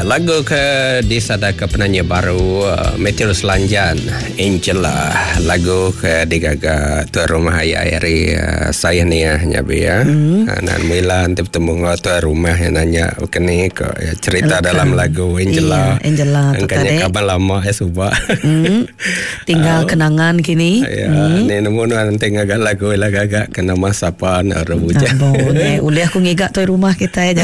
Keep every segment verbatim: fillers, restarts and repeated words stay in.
Lagu ke disada ke penyanyi baru Matthew Selanjan, Angela. Lagu ke digaga tuan rumah ayah hari saya ni ya nyabi ya. Mm. Nan mila nanti bertemu dengan tuan rumah yang nanya kini ke ya, cerita Elka. Dalam lagu Angela. Iya, Angela tu tadi. Kabar lama ya subah. Mm. Tinggal uh, kenangan kini. Ya, mm. Ni nemu nanti ngaga lagu lah gagak kena masa pan rebuja. Boleh, ulih aku ngigak tuan rumah kita aja.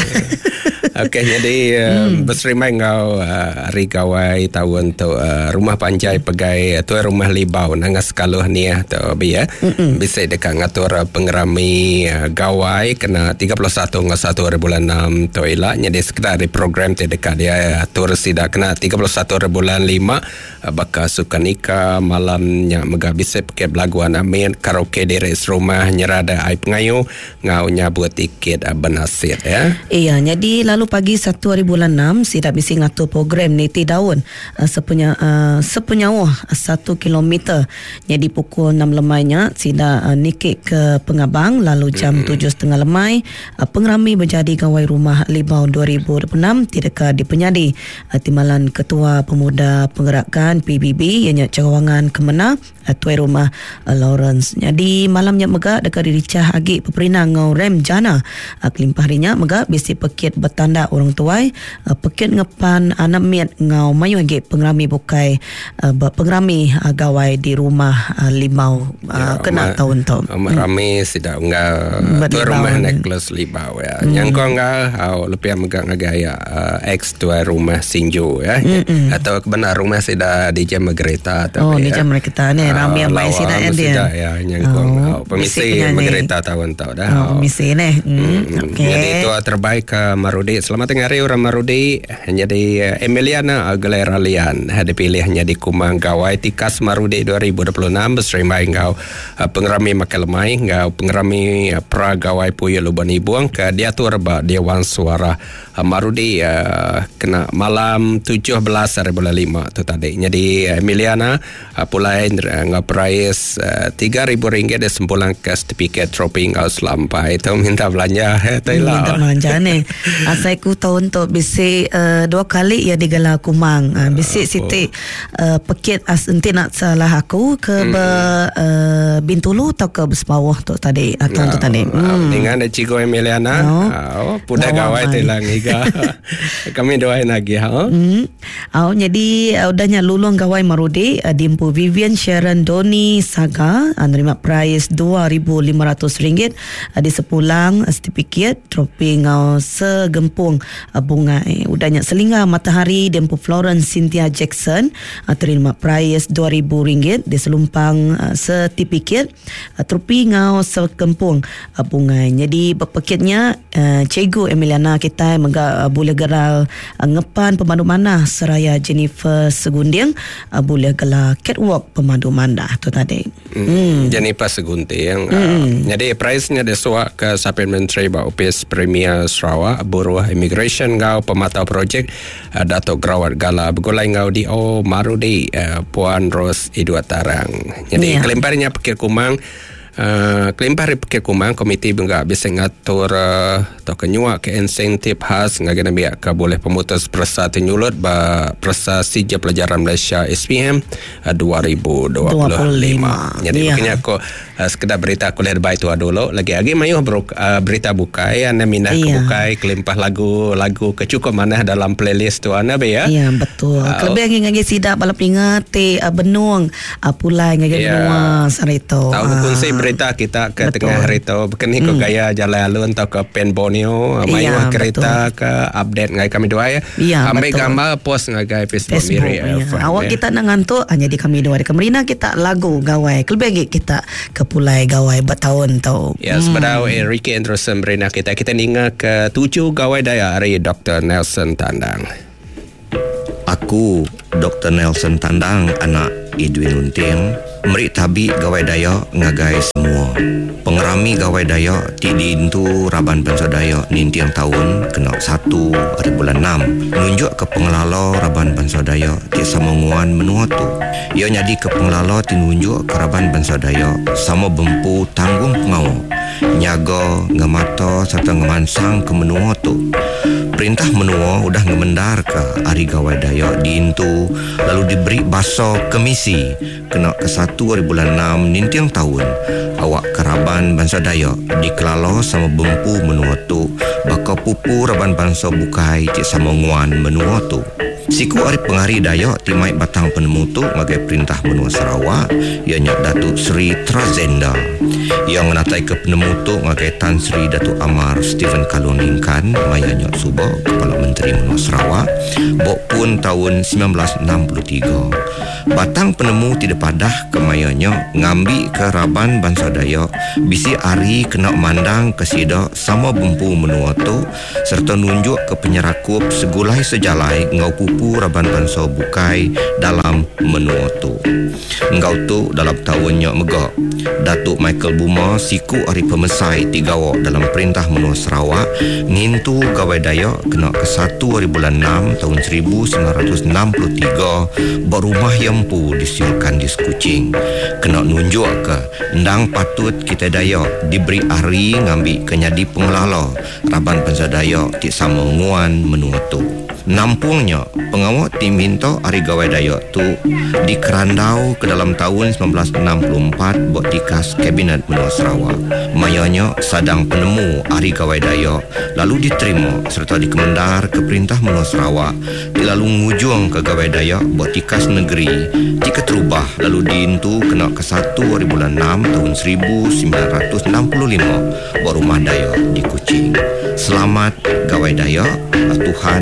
Okey, jadi hmm. berserima ngau uh, hari gawai tahun tu uh, rumah panjai pegai uh, tuan rumah Libau nangas kaluh ni ya tu bi ya. Bisa dekat ngatur uh, pengerami uh, gawai kena tiga puluh satu ngau satu hari bulan enam tu ila. Jadi sekedar di program ti dekat dia atur sida kena tiga puluh satu hari bulan lima uh, bakal sukanika malamnya mega bisa pakai belaguan amin karaoke di res rumah nyerada ai pengayu ngau nyabut tiket uh, benasit ya. Iya, jadi lalu pagi satu hari bulan enam sidak bisi ngatur program niti daun uh, sepunya uh, sepunyauh satu kilometer. Jadi pukul enam lemainya sidak uh, nikik ke Pengabang lalu jam tujuh setengah lemai uh, pengerami berjadi gawai rumah Libau dua ribu dua puluh enam tidak dipenyadi uh, Timbalan Ketua Pemuda Penggerakan P B B ianya Cawangan Kemena uh, tuai rumah uh, Lawrence. Jadi malamnya mega dekat diricah agi peperinang ngau Rem Jana uh, kelimpah harinya mega bisi pekit betanda orang tuai uh, pekit ngepan anak miat ngau mayu agi pengerami bukai uh, pengerami uh, gawai di rumah uh, Limau uh, ya, kena tahun tu. Rami sidak enggak tuai rumah Nicholas Libau ya. Hmm. Nyangko enggak au lebih mega ngagai uh, ex tuai rumah Sinju ya. Mm-mm. Atau benar rumah sidak di jam kereta atau oh, di jam kereta ni rami amai sidak ya dia. Ya nyangko oh, permisi kereta tahun tu dah. Oh, permisi ni. Hmm. Okey. Jadi itu terbaik ke Marudi. Selamat tengah hari orang Marudi. Jadi Emiliana Aguilera Lian dipilihnya di Kumang Gawai Tikas Marudi dua ribu dua puluh enam berserima ngau pengerami makan lemai ngau pengerami pra Gawai Puyo Luban Ibuang ke diatur ba Dewan Suara Marudi kena malam tujuh belas hari bulan lima tu tadi. Jadi Emiliana pulai ngau perais tiga ribu ringgit dia sempulang ke sertifikat trofi ngau selampai itu minta belanja minta belanja ni. Asai ku tahun tu bisi uh, dua kali ya digala Kumang. Uh, bisi uh, siti uh, pekit as enti nak salah aku ke hmm. be, uh, Bintulu atau ke Besbawah tu tadi atau tu tadi. Hmm. Dengan Cikgu Emiliana. Oh, oh pudah gawai telang iga. Kami doain lagi ha. Hmm. Oh, jadi uh, udahnya lulung gawai Marudi uh, dimpu Vivian Sharon Doni Saga uh, nerima prize dua ribu lima ratus ringgit uh, di sepulang uh, sertifikat trofi ngau segempung uh, bungai. Udahnya Selingga Matahari dempu Florence Cynthia Jackson uh, terima prize dua ribu ringgit di selumpang uh, sertifikat uh, trofi ngau segempung uh, bungai. Jadi berpekitnya uh, Cikgu Emiliana kita mega uh, boleh geral uh, ngepan pemandu manah seraya Jennifer Segunding uh, boleh gelar catwalk pemandu manah tu tadi. Hmm. Hmm. Jennifer Segunting. Hmm. Uh, jadi prize-nya desuak ke Sapin Menteri ba Office Premier Sarawak Buruh Immigration ngau pematau projek uh, Datuk Gerawat Gala bergulai ngau D O Marudi uh, Puan Ros Idua Tarang. Jadi yeah. Kelimparnya Pekir Kumang Uh, kelimpah dari Pekir Kumang komiti juga bisa ngatur uh, atau kenyuak ke insentif khas ngagai nabi ke boleh pemutus persa tenyulut ba persa sijil pelajaran Malaysia S P M uh, dua ribu dua puluh lima. Jadi yeah. Makanya aku uh, sekedar berita kuliah baik tu dulu lagi-lagi mayuh bro, uh, berita bukai anda minah yeah. Ke bukai kelimpah lagu-lagu kecukup mana dalam playlist tu anda be ya. Ya yeah, betul. Uh, Kelebih ngagai sidak balap ingat te uh, benung uh, pulai ngagai yeah. Benua sarito. Tahu uh. Berita kita ke betul. Tengah hari tu berkeni ke hmm. Gaya jalan alun atau ke Pen Borneo mayuh ya, kereta betul. Ke update ngai kami dua ya, ya ambil betul. Gambar post ngagai Facebook, Facebook Miri, ya. Awak ya. Kita nak ngantuk hanya di kami dua di Kemerina kita lagu gawai kelebih kita ke pulai gawai bertahun tu ya hmm. Sebedau Enrique Anderson berina kita kita ninga ke tujuh gawai daya hari Doktor Nelson Tandang. Aku Doktor Nelson Tandang anak Edwin Unting merik tabi gawai daya ngagai semua. Pengerami gawai daya ti diintu raban bangsa daya nintiang tahun kena satu hari bulan enam nunjuk ke pengelala raban bangsa daya ti sama nguan menua tu. Ia nyadi ke pengelala ti nunjuk ke raban bangsa daya sama bempu tanggung pengawa nyaga ngemata serta ngemansang ke menua tu. Perintah menua udah ngemendar ke Hari Gawai Dayak diintu lalu diberi basa kemisi kena ke satu hari bulan enam ninting tahun awak keraban bangsa Dayak dikelala sama bempu menua tu baka pupu raban bangsa bukai ti sama nguan menua tu. Siku hari pengari Dayak ti mai batang penemu tu ngagai perintah menua Sarawak ianya Datuk Seri Trazenda. Yang menatai ke penemu tu ngagai Tan Sri Datuk Amar Stephen Kalong Ningkan maya nyok suba Kepala Menteri Menua Sarawak bok pun tahun sembilan belas enam puluh tiga. Batang penemu tidak padah ke mayanya ngambi ke raban bangsa Dayak bisi ari kena mandang ke sida sama bempu menua tu serta nunjuk ke penyerakup segulai sejalai ngau pupu raban bangsa bukai dalam menua tu. Ngau tu dalam tahunnya megak Datuk Michael Buma siku ari pemesai tiga dalam perintah menua Sarawak ngintu Gawai Dayak kena ke satu hari bulan enam tahun seribu sembilan ratus enam puluh tiga berumah Empu di Siulkan di Kuching. Kena nunjuk ke endang patut kita Dayak diberi hari ngambi ke nyadi pengelala raban bangsa Dayak ti sama nguan menua tu. Nampungnya pengawak ti minta hari Gawai Dayak tu dikerandau ke dalam tahun sembilan belas enam puluh empat buat tikas Kabinet Menua Sarawak. Mayanya sadang penemu hari Gawai Dayak lalu diterima serta dikemendar ke perintah Menua Sarawak lalu ngujung ke Gawai Dayak buat tikas negeri jika terubah lalu diintu kena ke satu hari bulan enam tahun seribu sembilan ratus enam puluh lima buat rumah Dayak di Kuching. Selamat Gawai Dayak, Tuhan